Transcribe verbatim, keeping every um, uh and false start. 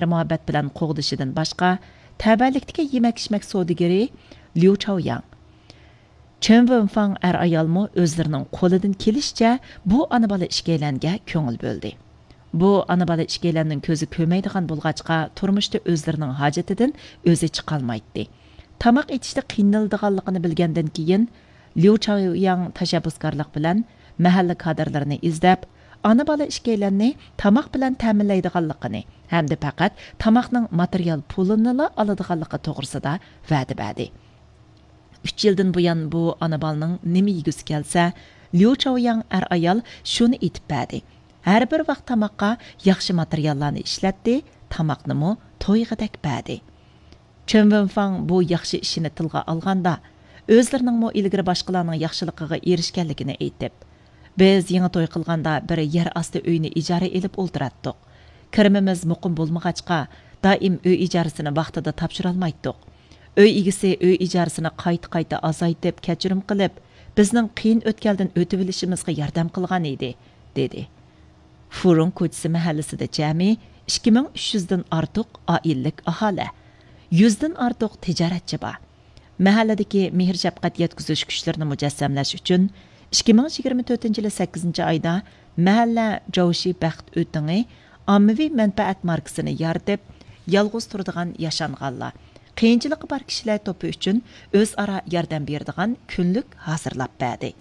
مۇھەببەت بىلەن قوغدىشىدىن باشقا، تەۋەلىكتىكى يېمەك-ئىچمەك سودىگىرى ليۇ چاۋياڭ، چېن ۋېنفاڭ ئەر-ئايالمۇ ئۆزلىرىنىڭ قولىدىن كېلىشىچە بۇ ئانا-بالا ئىككىيلەنگە كۆڭۈل بۆلدى. بۇ ئانا-بالا ئىككىيلەننىڭ كۆزى كۆرمەيدىغان بولغاچقا، تۇرمۇشتا ئۆزلىرىنىڭ ھاجىتىدىن ئۆزى چىقالمايتتى. تاماق ئېتىشتە قىينىلىدىغانلىقىنى بىلگەندىن كېيىن، ليۇ چاۋياڭ تەشەببۇسكارلىق بىلەن مەھەللە كادىرلىرىنى ئىزدەپ، ئانا-بالا ئىككىيلەننى تاماق بىلەن تەمىنلەيدىغانلىقىنى ھەمدە پەقەت تاماقنىڭ ماتېرىيال پۇلىنىلا ئالىدىغانلىقى توغرىسىدا ۋەدە بەردى. ئۈچ يىلدىن بۇيان بۇ ئانا-بالىنىڭ نېمە يېگۈسى كەلسە، ليۇ چاۋياڭ ئەر-ئايال شۇنى ئېتىپ بەردى. ھەر بىر ۋاق تاماققا ياخشى ماتېرىياللارنى ئىشلەتتى، تاماقنىمۇ تويغۇدەك بەردى. چېن ۋېنفاڭ بۇ ياخشى ئىشىنى تىلغا ئالغاندا، ئۆزلىرىنىڭمۇ ئىلگىرى باشقىلارنىڭ ياخشىلىقىغا ئېرىشكەنلىكىنى ئېيتىپ، بىز يېڭى توي قىلغاندا بىر يەر ئاستى ئۆينى ئىجارە ئېلىپ ئولتۇراتتۇق. كىرىمىمىز مۇقىم بولمىغاچقا، دائىم ئۆي ئىجارىسىنى ۋاقتىدا تاپشۇرالمايتتۇق. ئۆي ئىگىسى ئۆي ئىجارىسىنى قايتا-قايتا ئازايتىپ، كەچۈرۈم قىلىپ، بىزنىڭ قىيىن ئۆتكەلدىن ئۆتۈۋېلىشىمىزغا ياردەم قىلغان ئىدى، دېدى. فۇرۇڭ كوچىسى مەھەللىسىدە جەمئىي ئىككى مىڭ ئۈچ يۈزدىن ئارتۇق ئائىلىلىك ئاھالە، يۈزدىن ئارتۇق تىجارەتچى بار. مەھەللىدىكى مېھىر-شەپقەت يەتكۈزۈش كۈچلىرىنى مۇجەسسەملەش ئۈچۈن، ئىككى مىڭ يىگىرمە تۆتىنچى يىلى سەككىزىنچى ئايدا مەھەللە جاۋشى بەخت ئۆتىڭى ئاممىۋى مەنپەئەت ماركىسىنى يارىتىپ، يالغۇز تۇرىدىغان ياشانغانلار، قىيىنچىلىقى بار كىشىلەر توپى ئۈچۈن ئۆزئارا ياردەم بېرىدىغان كۈنلۈك ھازىرلاپ بەردى.